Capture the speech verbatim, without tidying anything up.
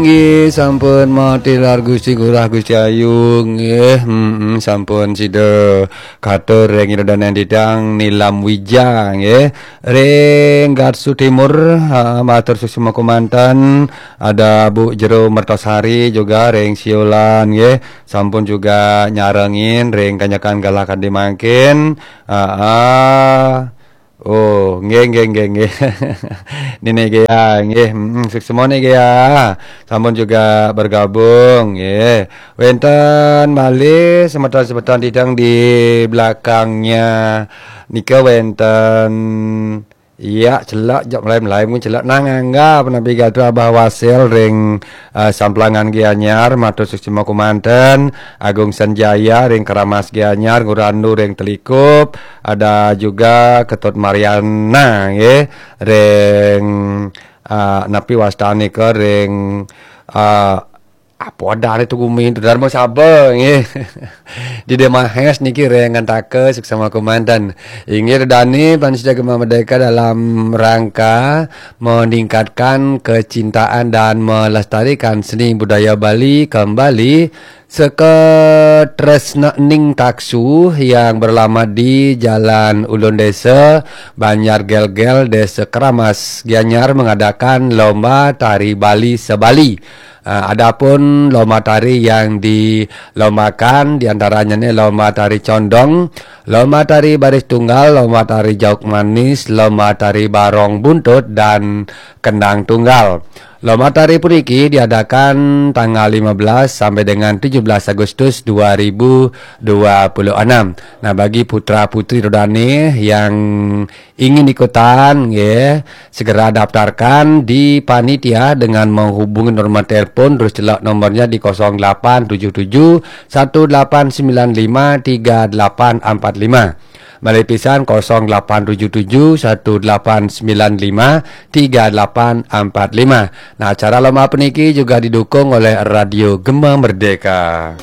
Nggih, sampun matilar Gusti Ngurah Gusti Ayu, nggih. Mm-mm, sampun sida katur ring ida dané titiang Nilam Wija, nggih. Ring Gatsu Timur, ha, matur suksma kumanten. Ada Bu Jero Mertasari juga ring Siolan, nggih. Sampun juga nyarengin ring kanyakan galah kadi mangkin. Ha, ha. Oh, nggih, nggih, nggih, nggih. Nini Gea, nggih. Mm, suksma Ni Gea. Sampun juga bergabung, nggih. Wénten malih semeton-semeton titiang di belakangnya. Nika wénten, iya, celak, jok melai-melai mungkin celak. Nang Angga, penabi gatra Abah Wasil ring, eh, Samplangan Gianyar, matur suksma kumanten. Agung Sanjaya ring Keramas Gianyar, Ngurandu ring Telikup, ada juga Ketut Mariana, nggih, ring, ah, napi wastane ke ring, ah, apa adane tu gumi tu, Dharma Saba, nggih. Dida Mahes niki ring Ngantaka, suksma kumanten. Inggih, dane Pansuja Gema Merdeka dalam rangka meningkatkan kecintaan dan melestarikan seni budaya Bali kembali, Seka Tresna Ning Taksu yang beralamat di Jalan Ulun Desa, Banjar Gelgel, Desa Keramas, Gianyar mengadakan lomba tari Bali se-Bali. Ah, adapun lomba tari yang dilombakan di antaranya ni lomba tari condong, lomba tari baris tunggal, lomba tari jauk manis, lomba tari barong buntut dan kendang tunggal. Lomba tari puniki diadakan tanggal lima belas sampai dengan tujuh belas Agustus dua ribu dua puluh enam. Nah, bagi putra-putri ida dane yang ingin ikutan, nggih, segera daftarkan di panitia dengan menghubungi nomor telepon, terus celak nomornya di kosong delapan tujuh tujuh satu delapan sembilan lima tiga delapan empat lima. Malih pisan, kosong delapan tujuh tujuh satu delapan sembilan lima tiga delapan empat lima. Nah, acara lomba puniki juga didukung oleh Radio Gema Merdeka.